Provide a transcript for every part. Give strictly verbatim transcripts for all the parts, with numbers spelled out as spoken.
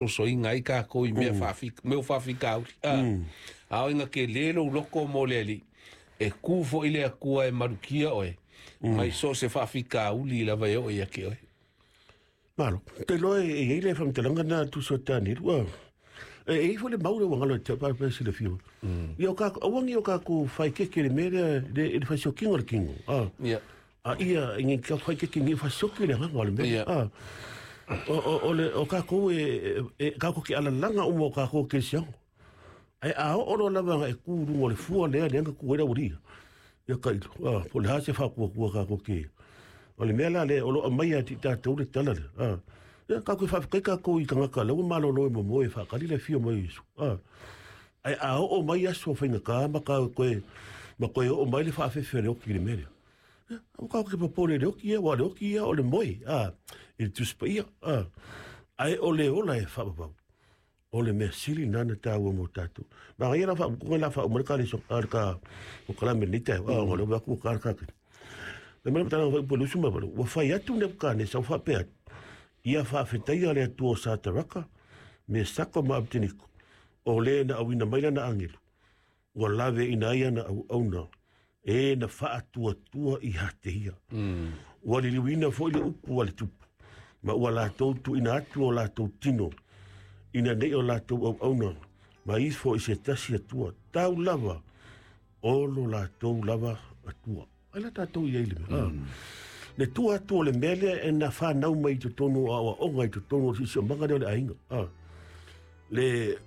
Sosoiga ai kākou i mea faafika mea o faafitauli a a o ina tele lou loko mo le Alii e kū foʻi le Atua e malutia oe mai so o se faafitauli lava e oo ia te oe. Malo. Te loa e i ai le faamatalaga na tusa o Tanielu. A. E e i foi le mau le ua galo e te pa pe se le fio. Ia o ka awangi o ka ku fai ke ke le me le le le fai sokingo le kingo. A. Ia. A ia ngi ka fai ke ke ngi fai soki le nganga o le me. Ia. A. O o o le o ka ku e e ka ku ki alalaga uma o ka ku ke siango. Ai a o olo lava nga e ku rungo le fua lea le nga ku era uri. Ia ka ilo. A po le ha se fa ku ku ka ku ke. O le mea la le o lo mai a ti tātou le tala le. A. Ia ka ku fa kai ka ku i kanga ka le malo lo mo mo e fa kali le fio mai isu. A. Ai a o mai aso whainga ka ma ka koe ma koe o mai le whaafefe le oki le mea. Ia, au ka ke popole le oki ia, wa le oki ia o le moe. A. I le tuspa ia. A. Ai o le ola e whaapapau. O le mea sili nana tāua mō tātou. Ma ngai la wha kunga la wha umare ka le so ka ka o kala me nita a o le wa ku ka ka. Me mea tana wha polu suma balu. Wa whai atu ne ka ne sa wha pe atu. Ia wha fetai le atu o Sataraka me sako ma Abdiniko. O le na awina maila na angelu. Ua lave ina ia na au auna. E na whaatua tua i hate ia. Ua liliwina foi le upu a le tupu. Ma ua lātou tu ina atu o lātou tino. Ina nei o lātou au auna. Ma ifo i se tasi atua. Tau lava. Olo lātou lava atua. Ai la tātou i eile mea. Mm. Le tua atu o le mea lea e na whanau mai i totonu o awa onga i totonu o sisi o manga lea o le ainga. Ah. Le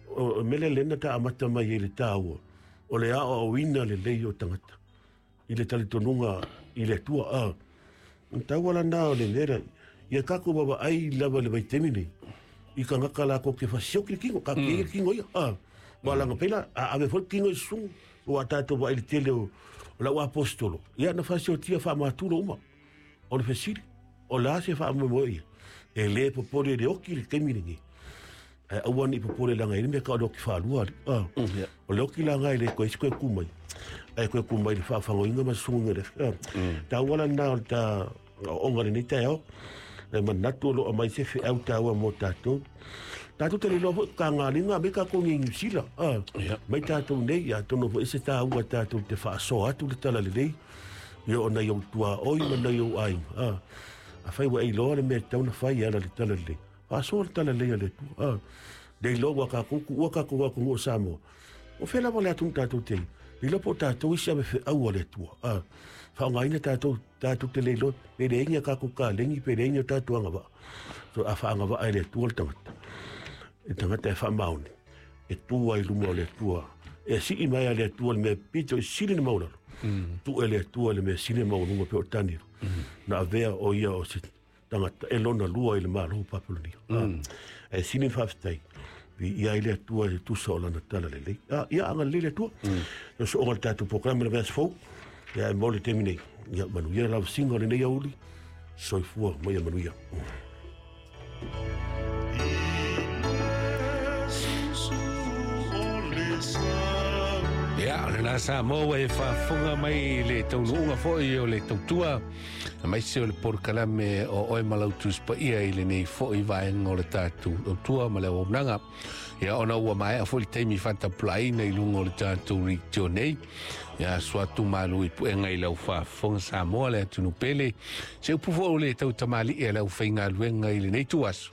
o, o mele lena ta amata mai e le tāua. O le ao au ina le lei o tangata. I le talitonuga i le tua. Ah. Taua la nā o le mera. Ia kako wawa ai lava le vaitemi nei. I ka ngaka la ko ke fasioki le kingo. Ka ke le kingo ia. Ah. Wa langa pela. A ave foi kingo i sungu. O a tātou wa i le tele o, o lau apostolo. Ia na fasiotia wha māturo uma. O le fesili. O la se wha mo ia. E le popole le oki le kemi lengi. E aua ni popole langa i le mea ka o le oki whaalua. Ah. Ia. O le oki langa i le koe koe kumai. Ai koe kumai le whaafangoinga ma sunga le. Ah. Tā wala nā o le tā o onga le nei tai ao. E manatu o lo mai se wheau tāua mō tātou. Tātou te lelo foi ka ngā linga me ka kongi New Zealand. Ah. Ia. Mai tātou nei, ia tono foi se tāua tātou te whaasoa atu le tala lelei. Ia o nei au tua oi ma nei au ainga. Ah. A whai wa e loa le mea tauna whai ala le tala lelei. Whaasoa le tala lelei a le tua. Ah. Nei loa wa ka kuku, ua ka kuku o Samoa. O whela wale atu tātou te. Nei loa po tātou isi ame wheau a le tua. Ah. Whaongaina tātou, tātou te leilo, pe le inga kako ka lengi, pe le inga tātou anga waa. So a whaanga waa e le tua le tangata. E tangata e whaamaoni. E tua i luma o le tua. E sii mai a le tua le mea pito i sili na maulalo. Mm. Tu e le tua le mea sili na maulunga pe o taniru. Mm. Na avea o ia o se tangata e lona lua i le malo Papelonia. Mm. Ah. E sili na whaafetai. Vi ia i le atua e tusa o lana tala le lei. Ah, ia anga le le atua. Mm. No so onga le tātou programa le veas fou. Ia e mole temi nei. Ia manuia lau singa o le nei auli. Soifua mai a manuia. Ia, o le nā Samoa e whaafonga mai le taunuunga foi o le tautua. Mai se o le porokalame o oe malautu spaia i le nei foi vaenga o le tātou tautua ma le auaunaga. Ia, ona ua maea foi le taimi whatapulaina i lunga o le tātou ritio nei. Ia, suatu malu i puenga i lau whaafonga Samoa le atunu pele. Se upu foi o le tautamali e lau whaingaluenga i le nei tuaso.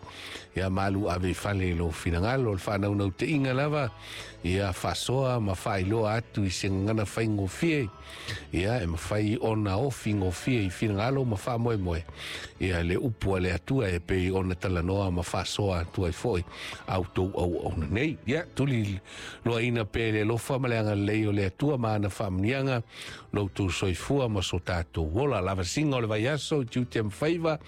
Ia, malu ave fale i lo finangalo o le whanaunau te inga lava. Ia, whasoa ma whailoa atu i se ngana whaingofie. Ia, e mawhai ona ofi ngofie i finangalo ma whamoe moe. Ia, le upu a le atua e pei ona talanoa ma whasoa atua i foi. Au tau au au na nei. Ia, tuli loa ina pe le lofa ma le anga lei o le atua ma ana whaamnianga. Lo tau soifua ma so tātou wola. Lava singa o le vaiaso i tiute mwhaiva.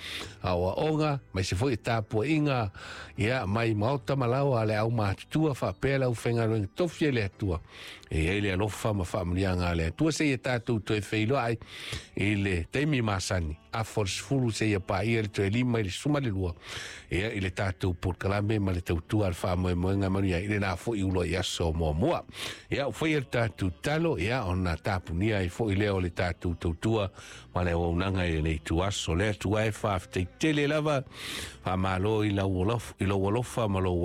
Awa onga, mai se foi tāpua inga. Ia, mai maota malawa le au mātutua whapea lau whengaluenga tofi e le atua. E ei le alofa ma whaamnianga le atua se i tātou toe wheiloa ai i le teimi masani. A force fulu se ia pa ia le toe lima i le suma le lua. Ia i le tātou porokalame ma le tautua le whaamoemoenga manuia i le nā foi ulo i aso mua mua. Ia u whai le tātou talo, ia ona tāpunia i foi leo le tātou tautua ma le auaunaga i lenei tuaso. Le atua e whaafetai tele lava, whaamalo i lau alofa, i lau alofa ma lou